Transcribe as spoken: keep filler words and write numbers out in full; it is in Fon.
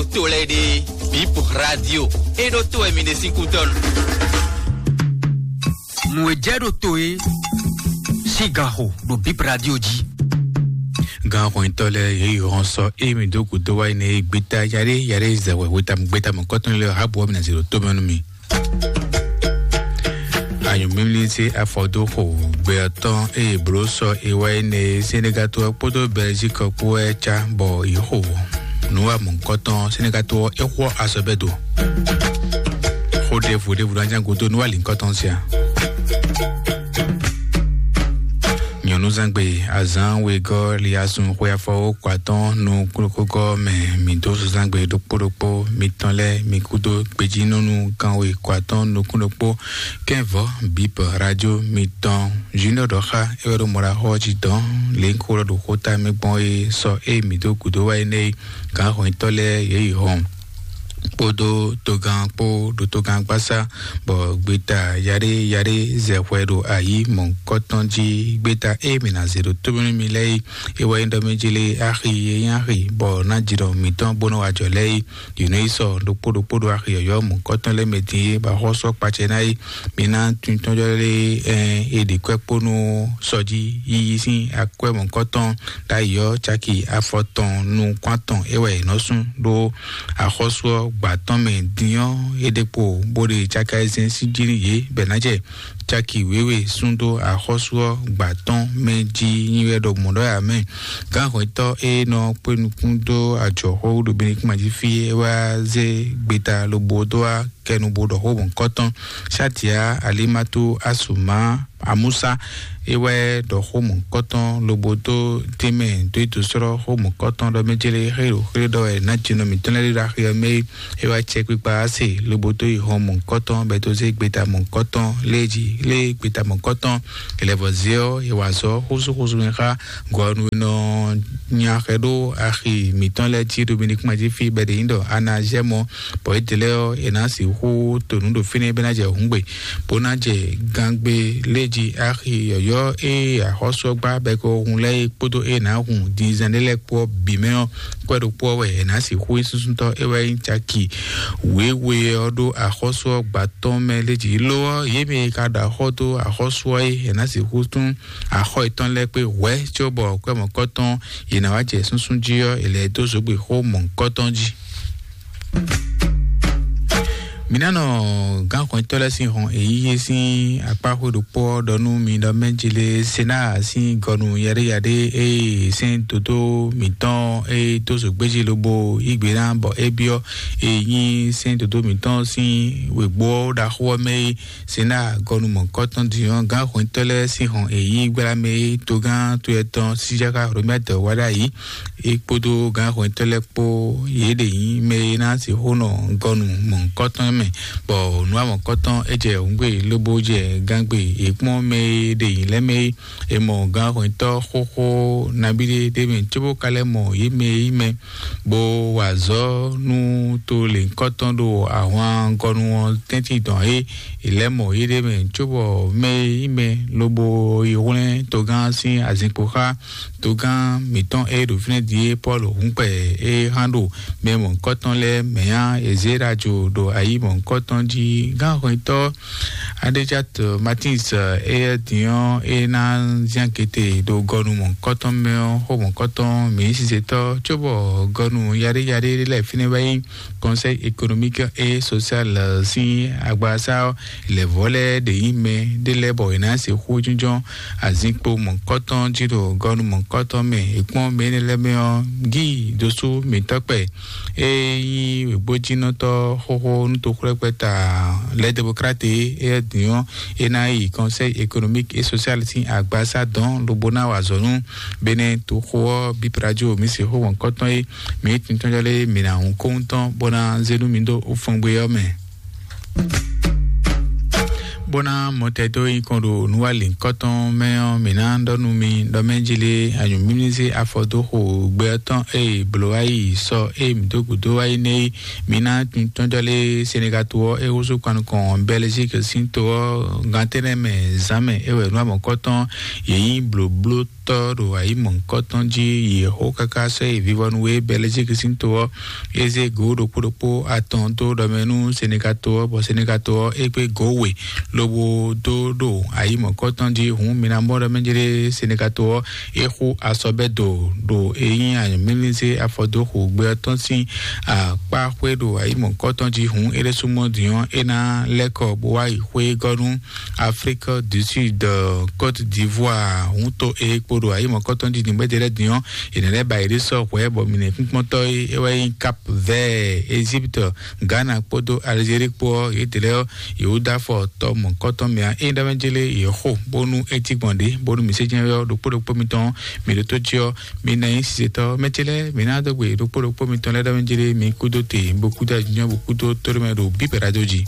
To lɛ́ɛ ɖe, Bip Radio. E ɖo to wɛ mi ɖe sín kútɔ́ nu. Nǔ e jɛ ɖo to e sín ganxo ɖo Bip Radio jí. Ganxɔnyitɔ́ lɛ́ɛ yě yi hɔn sɔ ée mi dó gǔdo wá yi nɛ e gbeta yaɖé yaɖé zɛ wɛ hweta gbeta mɔ̌kɔtɔn lɛ́ɛ ha bɔ mi ná zé ɖo tó mɛ nú mi. Anyǔmímlí sín afɔdóxo gbɛ ɔ́ tɔn eye blǒ sɔ e wá yi nɛ e Senegal to ɔ́ kpódó Belgique ɔ́ kpó wɛ cá bɔ yě xo nǔ wa mɔ̌hunkɔtɔn Senegal to ɔ́ é xwɔ azɔ̌ bɛ́ do. Xó ɖěvo ɖěvo ná ján gúdo nú alǐnkɔtɔn sia. Nyɔ̌núzangbe azǎn wegɔ́ liasun xwe afɔwó kɔ atɔ́ɔ́n nú kúɖokpógɔ́ mɛ mǐ dó zozangbe ɖokpó ɖokpó mitɔn lɛ́ɛ mi kúdó gbejínɔ́nú kanwe kɔ atɔ́ɔ́n nukún ɖokpó kɛ́nvɔ̌ bip radio mitɔn junior ɖɔ xá é wɛ ɖo mɔɖaxɔ jí dɔn lěnkó lɔ ɖo xóta mɛ gbɔn é sɔ é mǐ dó gǔdo wá énɛ́ é gǎnhɔnyitɔ́ lɛ́ɛ yě yi hɔn kpódó togán kpó ɖo togán gbásá bɔ gbeta yaɖé yaɖé zɛ hwɛ ɖo ayǐ mɔ̌hunkɔtɔn jí. Gbeta e mǐ ná zě ɖo tómɛ nú mi lɛ́ɛ é, é wɛ nyí ɖɔ mɛ jlé axi e nyí axi bɔ ná jǐ ɖɔ mǐtɔn bó nɔ wá jɔ lɛ́ɛ é. Yě nɔ yi sɔ ɖokpó ɖokpó ɖo axi yɔ̌yɔ́ mɔ̌hunkɔtɔn lɛ́ɛ mɛ din é bɔ axɔ́sú ɔ́ kpacɛ ná é. Mi ná tuntɔ́njɔ́ lɛ́ɛ ɛ è ɖi kwɛ́ kpó nú sɔjí yíyí sín akwɛ́ mɔ̌hunkɔtɔn ɖ'ayǐ ɔ́ caki afɔtɔn nukún atɔn é wɛ è nɔ sú ɖó axɔ́sú ɔ́ gbǎ tɔn mɛ din ɔ́ é ɖe kpo bó ɖe caki ayizɛ́n sín jí nú yě bɔ è nǎ jɛ caki wěwe sú dó axɔ́sú ɔ́ gbǎ tɔn mɛ jí nyi wɛ ɖɔ mɔ̌ ɖɔ ǎ mɛ. Gǎnhwɛtɔ́ e nɔ kpé nukún dó ajɔ̌xó ɖo Benɛkúma jí fí é wá zé gbeta lobo dó wá kɛnu bó ɖɔ xó mɔ̌hunkɔtɔn. Satia Alimatu Asuma Amusa é wɛ ɖɔ xó mɔ̌hunkɔtɔn lobo dó tɛnmɛ dó yi dó sɔ́ xó mɔ̌hunkɔtɔn ɖɔ mɛ jɛ́lɛ xé ɖo xé ɖɔ wɛ ná jinɔ mǐtɔn lɛ́ɛ ɖo axi ɔ́ mɛ é wá cɛ kpikpa ase lobo dó yi hɔn mɔ̌hunkɔtɔn bɛ tó zé gbeta mɔ̌hunkɔtɔn lé jí lé gbeta mɔ̌hunkɔtɔn. Elɛvɔzé ɔ́ è wǎ zɔ xósúxósú mɛ xá gɔnu e nɔ nya xɛ ɖó axi mǐtɔn lɛ́ɛ jí Dominikuma jí fí bɔ è ɖe nyí ɖɔ Anazɛ́mɔ, bɔ édɛlɛ́ ɔ́ è nǎ sixú to nǔ ɖo fínɛ́ bɔ é ná jɛ hǔngbe, bó ná jɛ gangbe lé jí axi yɔ̌yɔ́ e axɔ́sú ɔ́ gbá bɔ è ko hun lɛ́ɛ é kpódó e nǎ hun dinzɛn ɖé lɛ́ɛ kpó ɔ́ bǐ mɛ ɔ́, kwɛ ɖokpó ɔ́ wɛ è nǎ sixú nyí súsútɔ́ é wɛ nyí caki wěwe ɔ́ ɖó axɔ́sú ɔ́ gba tɔn mɛ lé jí. Lo ɔ́, yě mɛ e ka ɖo axɔ́ dó axɔ́sú ɔ́ é, è nǎ sixú tún axɔ́ yětɔn lɛ́ɛ kpé hwɛ̌ cóbɔ kwɛ́ mɔ̌kɔtɔn yě ná wá jɛ súnsún jí ɔ́, è lɛ́ dó zǒgbexó mɔ̌hunkɔtɔn jí. Mǐ ná nɔ gǎnxɔnyitɔ́ lɛ́ɛ sín hɔn èyíyé sín akpáxwé ɖokpó ɔ́ ɖɔ nú mi ɖɔ mɛ̌ jlé Senáa sín gɔnu yaɖéyaɖé e sɛ́n dodó mǐtɔn e dó zǒgbéjí lobo yí gbe ná bɔ é byɔ́ e nyí sɛ́n dodó mǐtɔn sín wěgbó ɔ́ ɖaxó ɔ́ mɛ é. Sena gɔnu mɔ̌kɔtɔn din ɔ́, gǎnhwɛntɔ́ lɛ́ɛ sín hɔn è yí gbla mɛ e togán toyɛ tɔn Sidzaka Hlomɛtɔ wá ɖ'ayǐ. É kpódó gǎnhwɛntɔ́ lɛ́ɛ kpó yě ɖe nyí mɛ e ná sixú nɔ gɔnu mɔ̌kɔtɔn mɛ, bɔ nǔ wa mɔ̌kɔtɔn é jɛ hǔngbe lobo jɛ gángbe è kpɔ́n mɛ e ɖe nyǐ lɛ́ɛ mɛ é. È mɔ gǎnhwɛntɔ́ xóxó nabí ɖé ɖ'é mɛ cóbó ka lɛ́ mɔ yě mɛ e nyí mɛ bó wa azɔ̌ nú to lěhunkɔtɔn ɖo ahwan gɔnu ɔ́ tɛ́ntin dɔn é. È lɛ́ mɔ yéɖée mɛ cóbɔ mɛ e nyí mɛ lobo yi hwlɛ́n togán sín azinkpo xá togán mǐtɔn e ɖo fínɛ́ din é Pɔ́lu hǔnkpɛ e hán ɖo mɛ mɔ̌hunkɔtɔn lɛ́ɛ mɛ ǎ. È zě ɖo ajo ɖo ayi mɔ̌hunkɔtɔn jí. Gánhwɛntɔ́ Adéjat Martins éyɛ́ din ɔ́, é ná zán gete ɖo gɔnu mɔ̌hunkɔtɔn mɛ ɔ́, xó mɔ̌hunkɔtɔn mǐ sizetɔ́ cóbɔ gɔnu yaɖéyaɖé lɛ́ɛ fínɛ́ wá nyí Conseil économique et social sín agbasá ɔ́, lɛ̌vɔ́ lɛ́ɛ ɖě nyí mɛ ɖé lɛ́ɛ bɔ è nǎ sixú jínjɔ́n azinkpo mɔ̌hunkɔtɔn jí ɖo gɔnu mɔ̌hunkɔtɔn mɛ. È kpɔ́n mɛ énɛ́ lɛ́ɛ mɛ ɔ́, Gíi dosú mǐtɔ́ kpɛ e nyí wěgbójínɔtɔ́ xóxó nú toxwlɛ́kpɛ́ta lɛ́ Democrate éyɛ́ din ɔ́, é ná yi Conseil économique et social sín agbasá dɔn lobo ná wa azɔ̌ nú Benɛ́ toxo ɔ́. Bip Radio mǐ se xó wɔ̌nkɔ́tɔn é, mǐ tintɔ́njɔ́ lé mǐ ná hun kóhun tɔn bó ná zé nú mi dó fɔngbe ɔ́ mɛ. Bó ná mɔtɛ dó nyi kɔn ɖo nǔwali ŋkɔtɔn mɛ ɔ́, mǐ ná ɖɔ nú mi ɖɔ mɛ jí lé anyǔmímízé afɔdóxo gbɛ ɔ́ tɔn eye blǒ wá yi sɔ eye mǐ dó gǔdo wá yi nɛ́ é, mǐ ná tɔjɔ́ lé Senegal to ɔ́ é húzú kpan nukɔn Belgique sín to ɔ́ gantɛ́nɛ mɛ zǎn mɛ é wɛ nǔ amɔ̌kɔtɔn yě nyí blǒbló tɔ́ ɖo ayǐ mɔ̌hunkɔtɔn jí. Yě xo káká sɔ́ yi vivɔnu e Belgique sín to ɔ́ é zé gǒ ɖokpó ɖokpó atɔn dó ɖɔ mɛ nú Senegal to ɔ́, bɔ Senegal to ɔ́ é kpé gǒ we lobo dó ɖo ayǐ mɔ̌hunkɔtɔn jí. Hǔn mi ná mɔ ɖɔ mɛ jlé Senegal to ɔ́ é xo asɔbɛ́ do ɖo é nyí anyǔmílízé afɔdóxu gbé ɔ́ tɔn sín akpá xwé ɖo ayǐ mɔ̌hunkɔtɔn jí. Hǔn é ɖésú mɔ dǐn ɔ́ é ná lɛ́ kɔ bó wá yi xwé gɔ́ nú Afrique du Sud, Côte d'Ivoire, hǔn to e kpo ɖo ayǐ mɔ̌kɔtɔn jí nǔgbɛ́jɛ lɛ́ɛ din ɔ́, yě nɛ́ lɛ́ ba yě ɖésɔ hwɛ̌ bɔ mi nɛ́ kúnkpɔ́ntɔ́ e é wɛ nyí Cap Vert, Égypte, Ghana kpódó Algérie kpó ɔ́, yě dě lɛ́ɛ ɔ́, yě wú dó afɔ tɔ mɔ̌kɔtɔn mɛ ǎ. Ényí ɖɔ mɛ jélé yě xo bónú é cí gbɔn ɖě, bónú mi sé jɛ́n ɔ́ ɖokpó ɖokpó mitɔn mi ɖótó jí ɔ́, mi ná nyí sizetɔ́ mɛ ce lɛ́ɛ, mi ná dó gbe ɖokpó ɖokpó mitɔn lɛ́ɛ ɖɔ mɛ jélé mi kúdó te, bó kúdó ajínjɔ́n, bó kúdó tóɖó mɛ ɖo bíbɛ̌ ɖá dó jí.